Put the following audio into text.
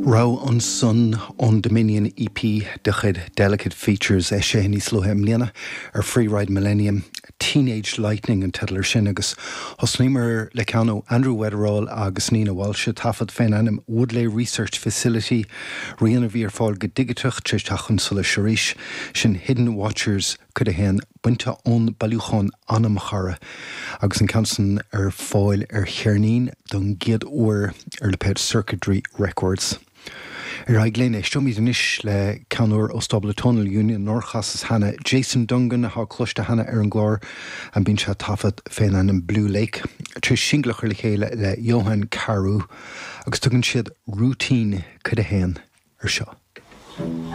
Rogha ansan ón Dominion EP de chuid Delicate Features, eisithe níos luaithe i mbliana ar Free Ride Millennium. Teenage Lightning an teideal ar sin agus thosnaíomar le ceann ó Andrew Weatherall agus Nina Walsh, taifead fén ainm Woodley Research Facility, rian a bhí ar fáil go digiteach tar éis teacht chun solais arís, sin Hidden Watchers Cuid 1, bainte ón bailiúchán Anamchara, agus an ceann san ar fáil ar cheirnín don gcéad uair ar lipéad Circuitry Records. Ar aghaidh linn, éisteoimid anois le ceann úr ó stábla Tonal Union nár chasas cheana, Jason Dungan, atá cloiste cheana ar an gclár, bíonn sé ag taifead fén ainm Blue Lake, tar éis singil a chur le chéile le Johan Carew, agus tugann siad Routine Cuid 1 ar seo.